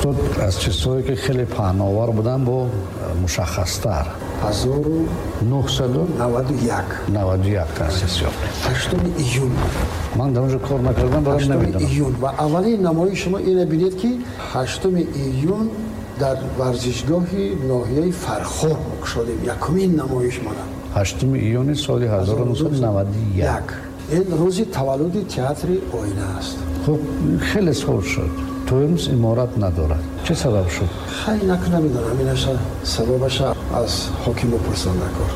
Ҳатто аз чизҳое ки хеле паҳновар буданд, бо мушаххастар. 1991. 91 таъсис ёфт. 8 июн. Ман дар онҷо кор накардам, барам намедонам. Июн ва аввалин намоиши шумо ина бинед, ки 8 июн дар варзишгоҳи ноҳияи Фархор кушодем. Якумин намоиш мона. 8 июни соли 1991. Ин рӯзи таваллуди театри Оина аст. Хуб, хеле сол шуд. То имрӯз иморат надорад. Чӣ сабаб шуд? Хай, намедонам, инаша сабабаша аз ҳоким бипурсам накор.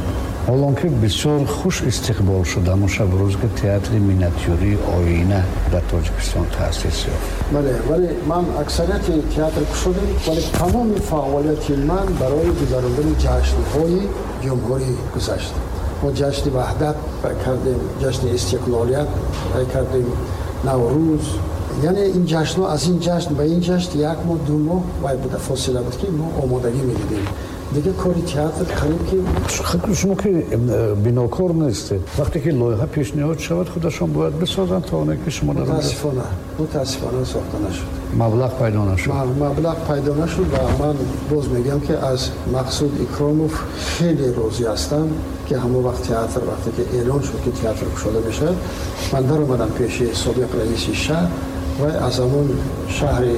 Ҳолон ки бисёр хуш истиқбол шуд ҳамон шаб рӯз, ки театри миниатюрии Оина дар Тоҷикистон таъсис ёфт. Бале, вале ман аксарияти театр кушодем, вале тамоми фаъолияти ман барои гузарондани ҷашнҳои ҷумҳурӣ гузашт. Мо ҷашни Ваҳдат кардем, ҷашни Истиқлолият кардем, Наврӯз, яъне ин ҷашнҳо, аз ин ҷашн ба ин ҷашн як моҳ, 2 моҳ вай буда, фосила буд, ки мо омодагӣ медидем. Дигар кори театр қариб ки Шумо ки бинокор нестед, вақте ки лоиҳа пешниҳод шавад, худашон бояд бисозанд, то оне ки шумо дар Мутаассифона, мутаассифона, сохта нашуд. Маблағ пайдо нашуд. Маблағ пайдо нашуд. Ва ман боз мегӯям, ки аз Мақсуд Икромов хеле розӣ ҳастам, ки ҳамон вақт театр, вақте ки эълон шуд, ки театр кушода мешавад, ман даромадам пеши собиқ раиси шаҳр ва аз ҳамон шаҳри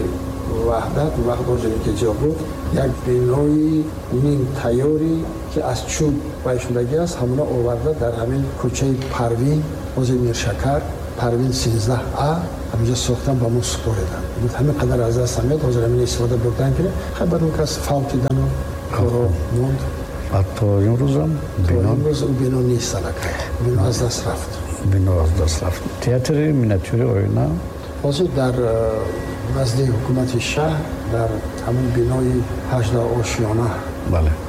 Ваҳдат, вақт ки ҷо буд, як бинои нимтайёре, ки аз чӯб вай шудагӣ аст, ҳамона оварда дар ҳамин кӯчаи Парвин, ҳозир Миршакар, Парвин 13 а, ҳаминҷо сохтан, ба мо супориданд. Гуфт, ҳамин қадар аз даст меяд, ҳозир ҳамин истифода бурдан ки хай, баъд он кас фавтидану коро монд. То имрӯзам бино, имрӯз бино нест, аллакай бино аз даст рафт. Бино аз даст рафт. Театри миниатюри Оина Ҳозир дар назди ҳукумати шаҳр, дар ҳамон бинои 18 ошёна,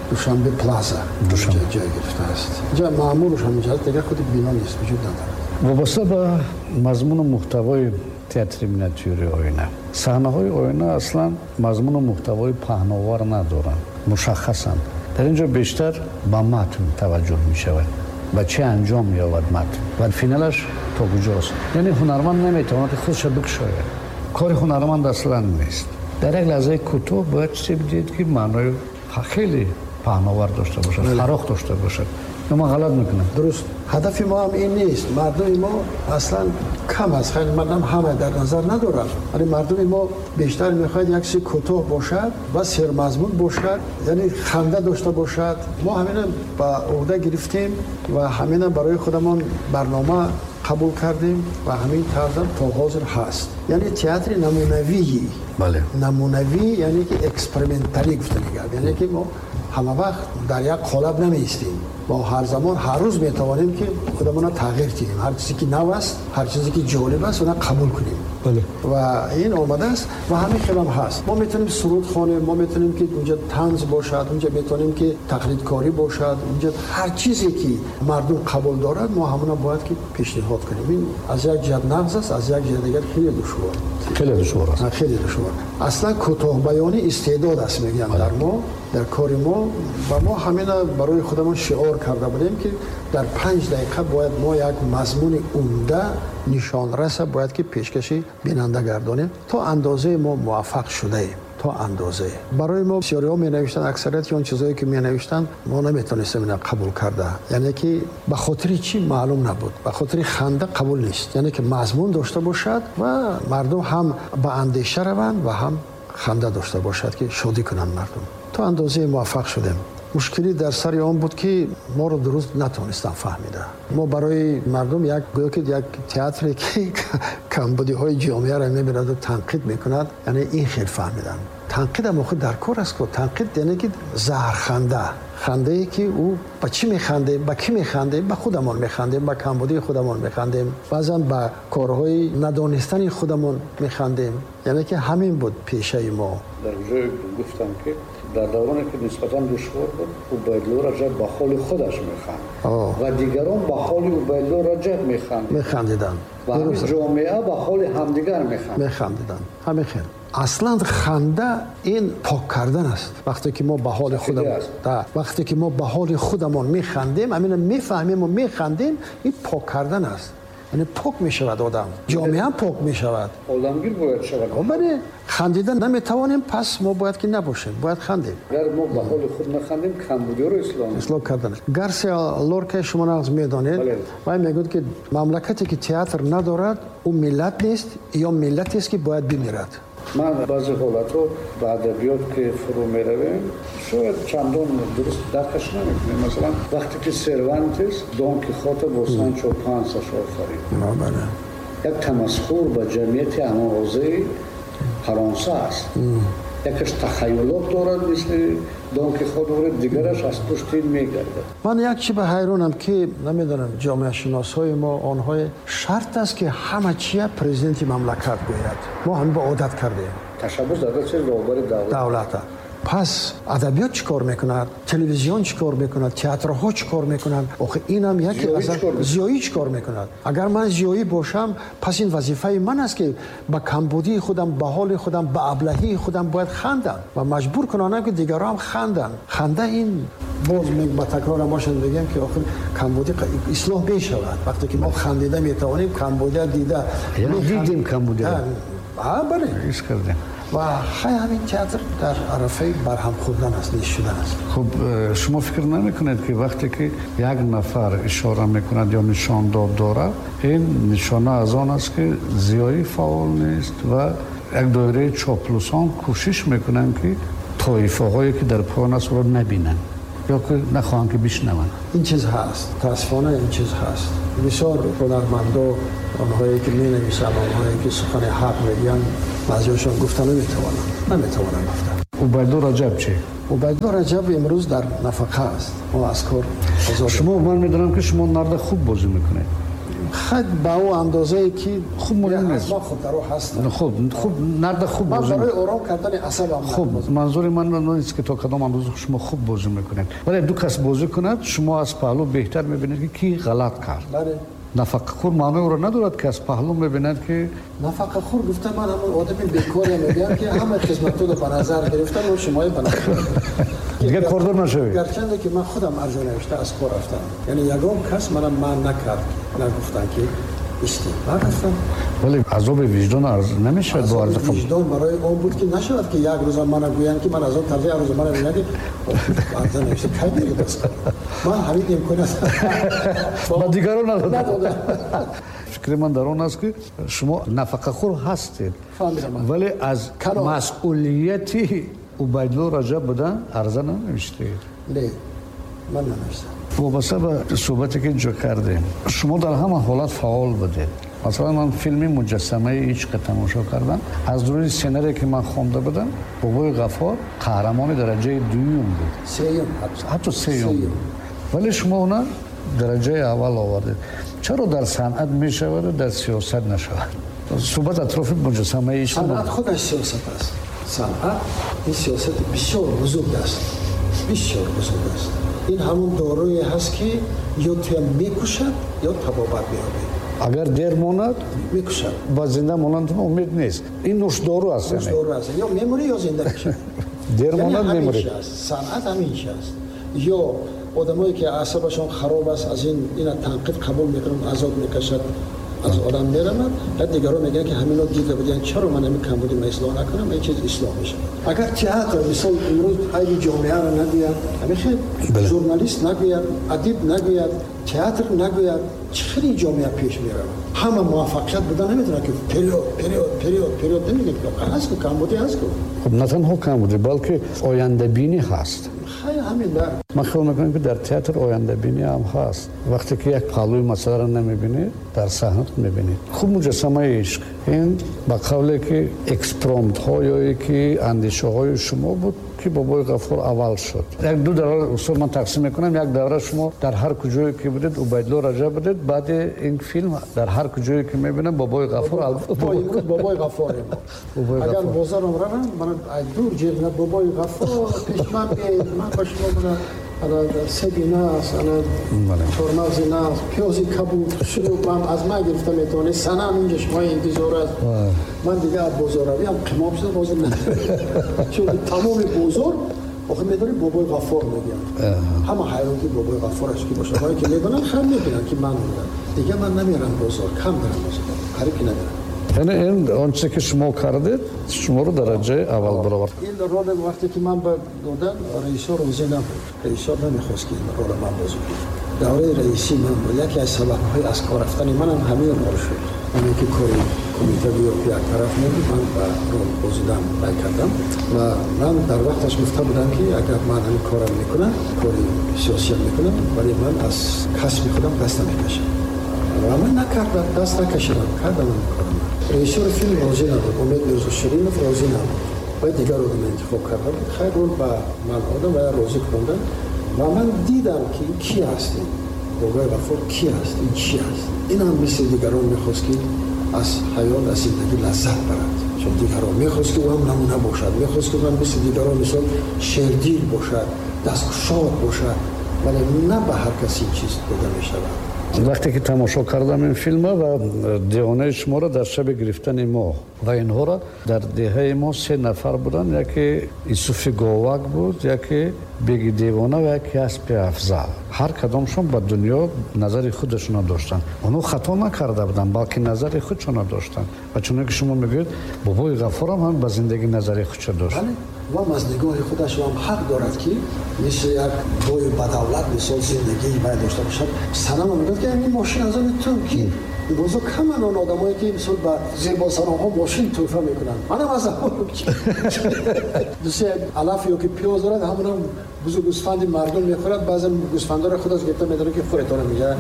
Душанбе Плаза ҷой гирифтааст. Инҷа маъмурш ҳаминҷа аст, дигар худи бино нест, вуҷуд надорад. Вобаста ба мазмуну муҳтавои театри миниатюри Оина, саҳнаҳои Оина аслан мазмуну муҳтавои паҳновар надоранд, мушаххасанд. Дар ин ҷо бештар ба матн таваҷҷӯҳ мешавад, ба чӣ анҷом меёбад матн ва финалаш то куҷост. Яъне ҳунарманд наметавонад ки худша бикушояд. Кори ҳунарманд аслан нест. Дар як лаҳзаи кӯтоҳ бояд чизе бидиҳед, ки маънои хеле паҳновар дошта бошад, фароғ дошта бошад. Ё ман ғалат мекунам? Дуруст, ҳадафи мо ҳам ин нест. Мардуми мо аслан кам аст, хеле мардам ҳама дар назар надорад, вале мардуми мо бештар мехоҳад як чизи кӯтоҳ бошад ва сермазмун бошад, яъне ханда дошта бошад. Мо ҳамина ба ӯҳда гирифтем ва ҳамина барои худамон барнома қабул кардем ва ҳамин тарзам то ҳозир ҳаст. Яъне театри намунавии намунавӣ, яъне ки эксперименталӣ гуфтани гап, яъне ки мо ҳама вақт дар як қолаб намеистем. Мо ҳар замон, ҳар рӯз метавонем, ки худамонро тағйир диҳем. Ҳар чизе ки нав аст, ҳар чизе ки ҷолиб аст, она қабул кунем. Ва ин омадааст ва ҳамин хелам ҳаст. Мо метавонем суруд хонем, мо метавонем, ки унҷа танз бошад, унҷа метавонем, ки тақлидкорӣ бошад, унҷа ҳар чизе ки мардум қабул дорад, мо ҳамона бояд ки пешниҳод кунем. Ин аз як ҷиҳат нағз аст, аз як ҷиҳат дигар хеле душвор. Хеле душвор аст. Хеле душвор. Аслан кӯтоҳбаёнӣ истеъдод аст, мегӯям, дар мо, дар кори мо. Ва мо ҳамина барои худамон шиор карда будем, ки дар 5 дақиқа бояд мо як мазмуни умда, нишонраса бояд ки пешкаши бинанда гардонем. То андозае мо муваффақ шудаем, то андозае. Барои мо бисёриҳо менавиштанд, аксарияти он чизое ки менавиштанд, мо наметавонистем ина қабул карда. Яъне ки ба хотири чӣ, маълум набуд. Ба хотири ханда қабул нест, яъне ки мазмун дошта бошад ва мардум ҳам ба андеша раванд ва ҳам ханда дошта бошад, ки шодӣ кунанд мардум. То андозае муваффақ шудем. Мушкилӣ дар сари он буд, ки моро дуруст натавонистанд фаҳмида. Мо барои мардум як, гӯё ки як театре, ки камбудиҳои ҷомеаро мебинаду танқид мекунад, яъне ин хел фаҳмиданд. Танқидам охир дар кор аст ку. Танқид яъне ки заҳрханда, хандае ки ӯ ба чӣ механдем, ба кӣ механдем? Ба худамон механдем, ба камбудии худамон механдем, баъзан ба корҳои надонистани худамон механдем. Яъне ки ҳамин буд пешаи мо. Дар ҷое гуфтам, ки дар давроне ки нисбатан душвор буд, Убайдулло Раҷаб ба ҳоли худаш механд ва дигарон ба ҳоли Убайдулло Раҷаб механд. Механдиданд. Ва ҳамин ҷомеа ба ҳоли ҳамдигар механд. Механдиданд, ҳамин хел. Аслан ханда ин пок кардан аст. Вақте ки мо ба ҳоли худам, вақте ки мо ба ҳоли худамон механдем, ҳамина мефаҳмему механдем, ин пок кардан аст. Яъне пок мешавад одам, ҷомеа пок мешавад. Оламгир бояд шавад. Бале, хандида наметавонем, пас мо бояд ки набошем, бояд хандем. Агар мо ба ҳоли худ нахандем, камбудиро ислоҳ кардан. Гарсия Лорка шумо нағз медонед, вай мегӯяд ки мамлакате ки театр надорад, ӯ миллат нест ё миллатест ки бояд бимирад. Ман баъзе ҳолатҳо ба адабиёт ки фурӯ меравем, шояд чандон дуруст даркаш намекунем. Масалан, вақте ки Сервантес Дон Кихота бо Санчо Пансаш офарид, як тамасхур ба ҷамъияти ҳамонрӯзаи Фаронса аст. Якаш тахаюлот дорад мисли Дон Кихот дорад, дигараш аз пушти ин мегардад. Ман як чи ба ҳайронам ки намедонам ҷомеашиносҳои мо онҳое шарт аст ки ҳама чия президенти мамлакат гӯяд. Мо ҳам ба одат кардем. Ташаббус дар дасти роҳбари давлат. Пас адабиёт чӣ кор мекунад, телевизион чӣ кор мекунад, театрҳо чӣ кор мекунанд? Охи инам яке аз зиёӣ чӣ кор мекунад? Агар ман зиёӣ бошам, пас ин вазифаи ман аст ки ба камбудии худам, ба ҳоли худам, ба аблаҳии худам бояд хандам ва маҷбур кунонам ки дигарон ҳам ханданд. Ханда ин боз ба такрорам бошад мегӯям ки охир камбудӣ ислоҳ мешавад. Вақте ки мо хандида метавонем, камбудия дида дидем камбудиро. Бале, ҳис кардем. Ва хай ҳамин театр дар арафаи барҳам хӯрдан аст, нест шудан аст. Хуб, шумо фикр намекунед ки вақте ки як нафар ишора мекунад ё нишондод дорад, ин нишона аз он аст ки зиёӣ фаъол нест ва як доираи чоплусон кӯшиш мекунанд ки тоифаҳое ки дар поён аст ӯро набинанд ё ки нахоҳанд ки бишнаванд? Ин чиз ҳаст, мутаассифона ин чиз ҳаст. Бисёр ҳунармандо, онҳое ки менависанд, онҳое ки сухани ҳақ мегӯянд, баъзеҳошон гуфта наметавонанд гуфта. Убайдулло Раҷаб чӣ? Убайдулло Раҷаб имрӯз дар нафақа аст. Ӯ аз кор озод. Шумо, ман медонам ки шумо нарда хуб бозӣ мекунед. Хай ба ӯ андозае ки хуб муҳим нест. Ман хубтаро ҳастам. Хуб, нарда хуб бозӣ. Ман барои ором кардани асабам. Хуб, манзури ман нест ки то кадом андоза шумо хуб бозӣ мекунед. Вале ду кас бозӣ кунад, шумо аз паҳлӯ беҳтар мебинед ки кӣ ғалат кард. Бале. Нафақахӯр маънои ӯро надорад ки аз паҳлӯ мебинад ки нафақахӯр гуфта ман ҳамон одами бекоре мегӯям ки ҳама хизматҳоро ба назар гирифта, мо шумои ба назар дигар кордор нашавед. Гарчанде ки ман худам арза навишта аз кор рафтам, яъне ягон кас мана ман накард, нагуфтанд ки исти, ман рафтам. Вале азоби виҷдон арз намешавад бо арза қабул. Виҷдон барои он буд ки нашавад ки як рӯза мана гӯянд ки ман аз он тарзи як рӯза мана мегӯянд ки арза навишта кай меред аз кор. Ман ҳамин имконият ба дигарон надодам. Фикри ман дар он аст ки шумо нафақахӯр ҳастед, вале аз масъулияти Убайдулло Раҷаб будан арза нанавиштед. Не, ман нанавиштам. Вобаста ба суҳбате ки инҷо кардем, шумо дар ҳама ҳолат фаъол будед. Масалан, ман филми Муҷассамаи ишқро тамошо кардам. Аз рӯи сценарие ки ман хонда будам, Бобои Ғаффор қаҳрамони дараҷаи дуюм буд. Сеюм. Ҳатто сеюм. Вале шумо она дараҷаи аввал овардед. Чаро дар санъат мешаваду дар сиёсат нашавад? Суҳбат атрофи Муҷассамаи ишқ. Санъат худаш сиёсат аст. Санъат ин сиёсати бисёр бузург аст. Бисёр бузург аст. Ин ҳамон доруе ҳаст ки ё туя мекушад, ё табобат меёбед. Агар дер монад, мекушад. Ба зинда монандатон умед нест. Ин нӯшдору аст. Нӯшдору аст. Ё мемурӣ, ё зинда мешавӣ. Дер монад, мемурӣ. Санъат ҳамин чи аст. Ё одамое ки аъсабашон хароб аст, аз ин ина танқид қабул мекунанд, азоб мекашад, аз одам меравад. Баъд дигарон мегӯянд ки ҳамино дида буданд, чаро ман ҳамин камбудиро ислоҳ накунам, ин чиз ислоҳ мешавад. Агар театр мисол имрӯз айби ҷомеаро нагӯяд, ҳамин хел журналист нагӯяд, адиб нагӯяд, театр нагӯяд, чӣ хеле ҷомеа пеш меравад? Ҳама муваффақият будан наметавонад ки период, период, период, период намегӯяд ки ҳаст ку камбудӣ ҳаст ку. Хуб, на танҳо камбудӣ, балки ояндабинӣ ҳаст. Хай ҳамин дар. Ман хиёл мекунам ки дар театр ояндабинӣ ҳам ҳаст. Вақте ки як паҳлӯи масъаларо намебинед, дар саҳна мебинед. Хуб, Муҷассамаи ишқ ин ба қавле ки экспромтҳо ё ки андешаҳои шумо буд ки Бобои Ғаффор аввал шуд. Як ду давра устод ман тақсим мекунам. Як давра шумо дар ҳар куҷое ки будед Убайдулло Раҷаб будед, баъди ин филм дар ҳар куҷое ки мебинам Бобои Ғаффор. Имрӯз Бобои Ғаффорем. Агар бозорам равам, ман дур ҷеғ Бобои Ғаффор пеш ман биёед, ман ба шумо буда ана себи нас, ана чормағзи нас, пиёзи кабуд, шурӯб аз ман гирифта метавонед. Санам инҷа шумо интизор аст. Ман дигар аз бозорравиам қимоб шуда бозор надорам. Чун тамоми бозор Охи медонӣ Бобои Ғаффор мегӯянд. Ҳама ҳайрон ки Бобои Ғаффор аст ки бошад. Оне ки медонанд, хам мебинанд ки ман омадам. Дигар ман намерам бозор, кам мерам бозор, қариб ки намерам. Яъне ин он чизе ки шумо кардед, шуморо дараҷаи аввал баровард. Ин рол вақте ки ман ба додан, раисо розӣ набуд. Раисо намехост ки ин ролро ман бозӣ кунам. Давраи раисӣ ман буд. Яке аз сабабҳои аз кор рафтани манам ҳамин рол шуд. Оне ки кори кумита гӯё ки як тараф мебуд, ман ба рол бозидан рай кардам ва ман дар вақташ гуфта будам ки агар ман ҳамин корам мекунам, кори сиёсиям мекунам, вале ман аз касби худам даст намекашам. Ва ман накардам, даст накашидам, кардам ҳамин корам. Режиссёри филм розӣ набуд, Умед Мирзоширинов розӣ набуд. Ва дигар одам интихоб карда буд. Хайр, рол ба ман одам ва розӣ кардам. Ва ман дидам ки ин ки аст, ин Бобои Ғаффор ки аст, ин чи аст. Ин ҳам мисли дигарон мехост ки аз ҳаёт, аз зиндагӣ лаззат барад. Чун дигарон мехост ки ӯ ҳам намуна бошад, мехост ки ӯ ҳам мисли дигарон мисол шердил бошад, дасткушод бошад, вале на ба ҳар кас ин чиз дода мешавад. Вақте ки тамошо кардам ин филма ва девонаи шуморо дар шаби гирифтани моҳ ва инҳоро дар деҳаи мо се нафар буданд, яке Исуфи Говак буд, яке Беги девона ва яке Аспи Афзал. Ҳар кадомшон ба дунё назари худашонро доштанд. Онҳо хато накарда буданд, балки назари худшонро доштанд. Ва чуноне ки шумо мегӯед, Бобои Ғаффорам ҳам ба зиндагӣ назари худшо дошт. Бале, ва аз нигоҳи худаш ҳам ҳақ дорад ки мисли як бою бадавлат мисол зиндагии вай дошта бошад. Санама мегӯяд ки ин мошин аз они ту ки имрӯзо каман он одамое ки мисол ба зебосаронҳо мошин тӯҳфа мекунанд. Манам аз ҳамон ду се алаф ё ки пиёз дорад, ҳамонам бузу гӯсфанди мардум мехӯрад. Баъзан гӯсфандоро худаш гирифта медорад ки хӯретона мегӯяд.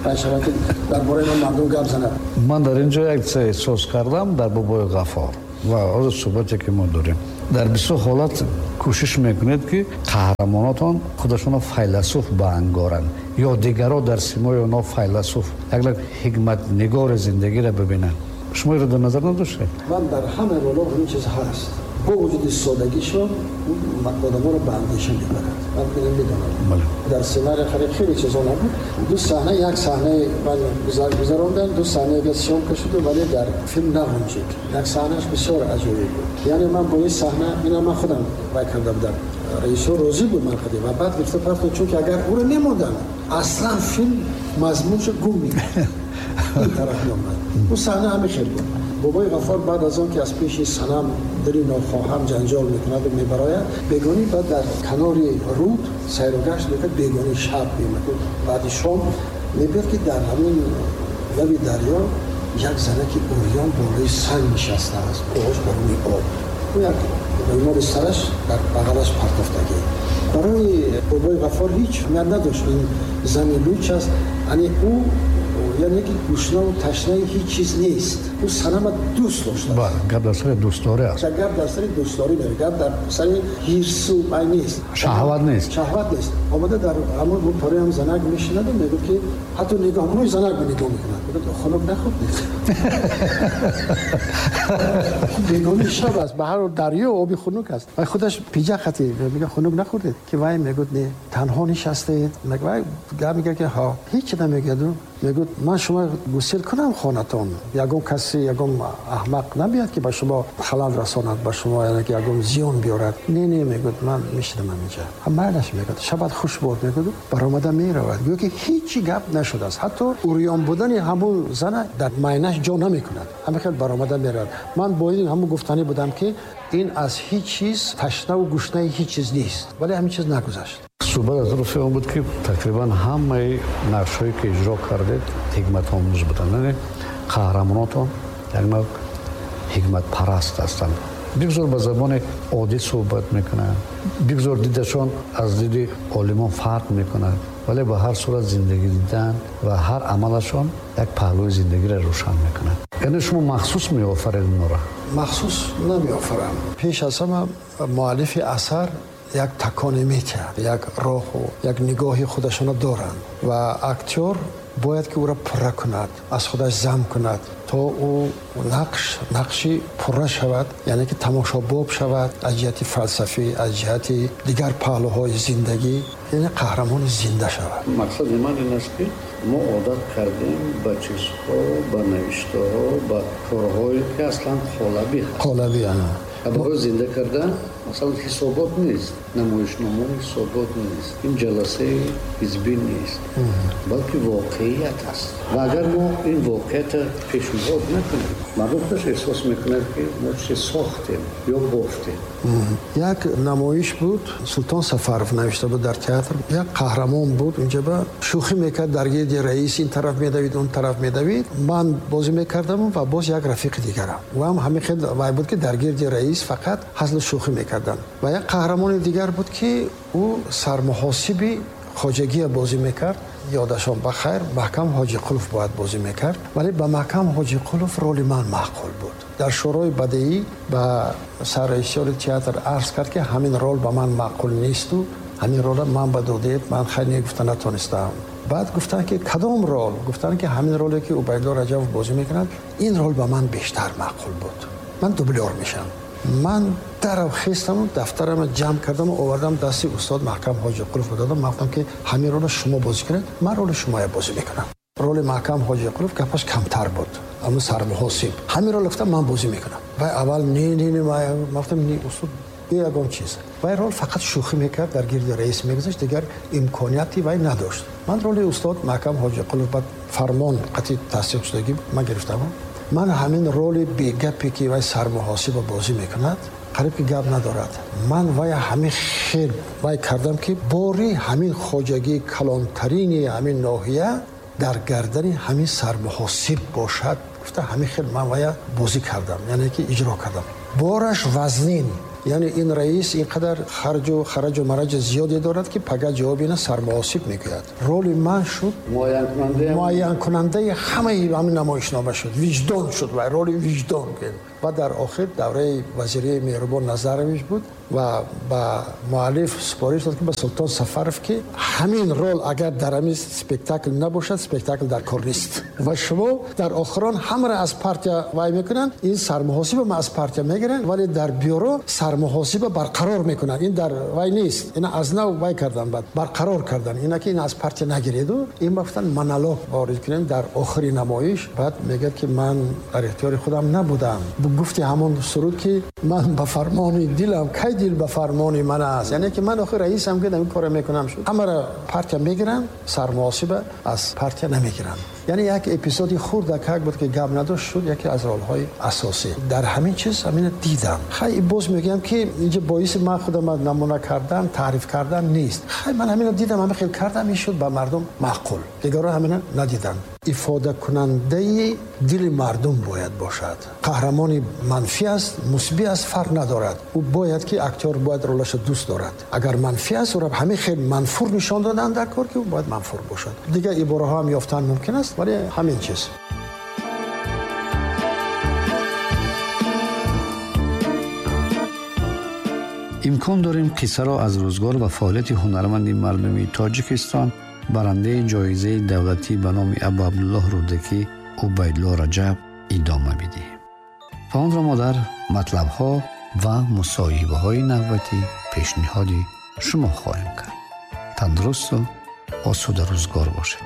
Панҷшанбе ки дар бораи ман мардум гап занад. Ман дар ин ҷо як чиз эҳсос кардам дар Бобои Ғаффор ва ҳозир суҳбате ки мо дорем. Дар бисёр ҳолат кӯшиш мекунед ки қаҳрамонотон худашонро файласуф баангоранд ё дигарро дар симои онҳо файласуф, як навъ ҳикматнигори зиндагиро бибинанд. Шумо инро дар назар надоштед? Ман дар ҳама ролҳо ҳамин чиз ҳаст. Бо вуҷуди содагишон одаморо ба андеша мебарад. Ман инро медонам. Дар сценарий хеле чизо набуд. Ду саҳна, як саҳнаи ман гузарондам, ду саҳнаи дигар съёмка шуд, вале дар филм нағунҷид. Як саҳнааш бисёр аҷоиб буд. Яъне ман бо ин саҳна, инро ман худам вай карда будам. Режиссёр розӣ буд ман худӣ ва баъд гирифта партофт, чунки агар ӯро мемондам, аслан филм мазмуншо гум мекард. Ин тараф меомад. Ӯ саҳна ҳамин хел буд. Бобои Ғаффор баъд аз он ки аз пеши Санам дили нохоҳам ҷанҷол мекунад ва мебарояд, бегонӣ баъд дар канори руд сайру гашт мекард, бегонӣ шаб меомад. Баъди шом мебиёд ки дар ҳамин лаби дарё як занаки урён болои санг нишастааст, оғош ба рӯи об. Ӯ як рӯймоли сараш дар бағалаш партофтагӣ. Барои Бобои Ғаффор ҳеҷ ҳамият надошт ин зани луч аст, яъне ӯ яъне ки гушнаву ташнаи ҳеҷ чиз нест. Ӯ Санама дӯст доштааст. Бале, гап дар сари дӯстдорӣ аст. Гап дар сари дӯстдорӣ меравад, гап дар сари ҳирсу вай нест. Шаҳват нест. Шаҳват нест. Омада дар ҳамон рӯпарои ҳам занак мешинад ва мегӯяд ки ҳатто нигоҳ, ҳамои занак ба нигоҳ мекунад. Мегӯяд хунук нахӯрдед. Бегони шаб аст, ба ҳар ҳол дарё оби хунук аст. Вай худаш пиҷак хати мегӯяд хунук нахӯрдед, ки вай мегӯяд не, танҳо нишастаед. Вай гап мегӯяд ки ҳа, ҳеҷ намегӯяд. Мегӯяд ман шумо гусел кунам хонатон, ягон касе, ягон аҳмақ набиёд ки ба шумо халал расонад, ба шумо яъне ки ягон зиён биёрад. Не, не, мегӯяд ман мешинам инҷа. Ҳам майлаш мегӯяд, шабат хуш бод, мегӯяд, баромада меравад. Гӯё ки ҳеҷ гап нашудааст. Ҳатто урён будани ҳамон зана дар майнаш ҷо намекунад. Ҳамин хел баромада меравад. Ман бо ин ҳамон гуфтанӣ будам ки ин аз ҳеҷ чиз ташнаву гушнаи ҳеҷ чиз нест, вале ҳамин чиз нагузашт. Суҳбат аз рӯи он буд ки тақрибан ҳамаи нақшҳое ки иҷро кардед ҳикматомӯз буданд. Яъне қаҳрамонотон як навъ ҳикматпараст ҳастанд. Бигзор ба забони оддӣ суҳбат мекунанд, бигзор дидашон аз диди олимон фарқ мекунад, вале ба ҳар сурат зиндагӣ дидан ва ҳар амалашон як паҳлӯи зиндагиро рӯшан мекунад. Яъне шумо махсус меофаред онҳоро? Махсус намеофарам. Пеш аз ҳама муаллифи асар як таконе метиҳад, як роҳу як нигоҳи худашонро доранд ва актёр бояд ки ӯро пурра кунад, аз худаш зам кунад то ӯ нақши пурра шавад, яъне ки тамошобоб шавад аз ҷиҳати фалсафӣ, аз ҷиҳати дигар паҳлӯҳои зиндагӣ, яъне қаҳрамони зинда шавад. Мақсади ман ин аст ки мо одат кардем ба чизҳо, ба навиштаҳо, ба корҳое ки аслан қолабӣ ҳаст. Қолабӣ, ана. Барои зинда кардан масалан ҳисобот нест, намоишнома ҳисобот нест, ин ҷаласаи ҳизбӣ нест, балки воқеият аст. Ва агар мо ин воқеиятро пешниҳод накунем, мардум худаш эҳсос мекунад, ки мо чизе сохтем ё бофтем. Як намоиш буд, Султон Сафаров навишта буд дар театр. Як қаҳрамон буд, унҷа ба шӯхӣ мекард дар гирди раис, ин тараф медавид, он тараф медавид. Ман бозӣ мекардам ва боз як рафиқи дигарам. Ӯ ҳам ҳамин хел вай буд, ки дар гирди раис фақат ҳазлу шӯхӣ мекарданд. Ва як қаҳрамони дигар буд, ки ӯ сармуҳосиби хоҷагия бозӣ мекард. Ёдашон ба хайр, Маҳкам Ҳоҷиқулов бояд бозӣ мекард, вале ба Маҳкам Ҳоҷиқулов роли ман маъқул буд. Дар шӯрои бадеӣ ба саррежиссёри театр арз кард, ки ҳамин рол ба ман маъқул несту ҳамин ролро ман ба додед, ман хайр не гуфта натонистам. Баъд гуфтанд, ки кадом рол? Гуфтанд, ки ҳамин роле, ки Убайдулло Раҷабов бозӣ мекунад, ин рол ба ман бештар маъқул буд. Ман дублёр мешам. Ман дарав хестаму дафтарамро ҷамъ кардаму овардам дасти устод Маҳкам Ҳоҷиқулов додам. Ман гуфтам, ки ҳамин ролро шумо бозӣ кунед, ман роли шумоя бозӣ мекунам. Роли Маҳкам Ҳоҷиқулов гапаш камтар буд, аммо сармуҳосиб. Ҳамин рол гуфтам ман бозӣ мекунам. Вай аввал не, не, не, ман гуфтам не, устод, бе ягон чиз. Вай рол фақат шӯхӣ мекард, дар гирди раис мегузашт, дигар имконияти вай надошт. Ман роли устод Маҳкам Ҳоҷиқулов баъд фармон қатъи тасдиқ шудагӣ ман гирифтам. Ман ҳамин роли бегапе, ки вай сармуҳосиба бозӣ мекунад, қариб ки гап надорад. Ман вай ҳамин хел вай кардам, ки бори ҳамин хоҷагии калонтарини ҳамин ноҳия дар гардани ҳамин сармуҳосиб бошад, гуфта ҳамин хел ман вая бозӣ кардам, яъне ки иҷро кардам. Бораш вазнин, яъне ин раис ин қадар харҷу хараҷу мараҷ зиёде дорад, ки пага ҷавоби ина сармуҳосиб мегӯяд. Роли ман шуд муайянкунандаи ҳамаи ҳамин намоишнома шуд, виҷдон шуд, вай роли виҷдон. Ва дар охир давраи вазирии Меҳрубон Назарович буд ва ба муаллиф супориш дод, ки ба Султон Сафаров, ки ҳамин рол агар дар ҳамин спектакл набошад, спектакл дар кор нест. Ва шумо дар охирон ҳамаро аз партия вай мекунанд, ин сармуҳосиба ма аз партия мегиранд, вале дар бюро сармуҳосиба барқарор мекунанд. Ин дар вай нест, ина аз нав вай кардан, баъд барқарор кардан, ина ки ин аз партия нагиреду. Ин гуфтан монолог ворид кунем дар охири намоиш. Баъд мегӯяд, ки ман дар ихтиёри худам набудам. Гуфти ҳамон суруд, ки ман ба фармони дилам, кай дил ба фармони ман аст, яъне ки ман охир раисам, ки ин корро мекунам шуд. Ҳамаро партия мегиранд, сармуҳосиба аз партия намегиранд. Яъне як эпизоди хурдакак буд, ки гап надошт, шуд яке аз ролҳои асосӣ. Дар ҳамин чиз ҳамина дидам. Хай, боз мегӯям, ки инҷа боиси ман худам намуна кардан, таъриф кардан нест. Хай, ман ҳамина дидам, ҳамин хел кардам, ин шуд ба мардум маъқул. Дигарро ҳамина надиданд. Ифодакунандаи дили мардум бояд бошад. Қаҳрамони манфӣ аст, мусбӣ аст, фарқ надорад. Ӯ бояд ки актёр бояд ролашро дӯст дорад. Агар манфӣ аст, ӯро ҳамин хел манфур нишон додан дар кор, ки ӯ бояд манфур бошад. Дигар ибораҳо ҳам ёфтан мумкин аст, вале ҳамин чиз. Имкон дорем қиссаро аз рӯзгор ва фаъолияти ҳунарманди мардумии Тоҷикистон, барандаи ҷоизаи давлатӣ ба номи Абу Абдуллоҳ Рӯдакӣ Убайдулло Раҷаб идома бидиҳем ва онро мо дар матлабҳо ва мусоҳибаҳои навбатӣ пешниҳоди шумо хоҳем кард. Тандурусту осуда рӯзгор бошед.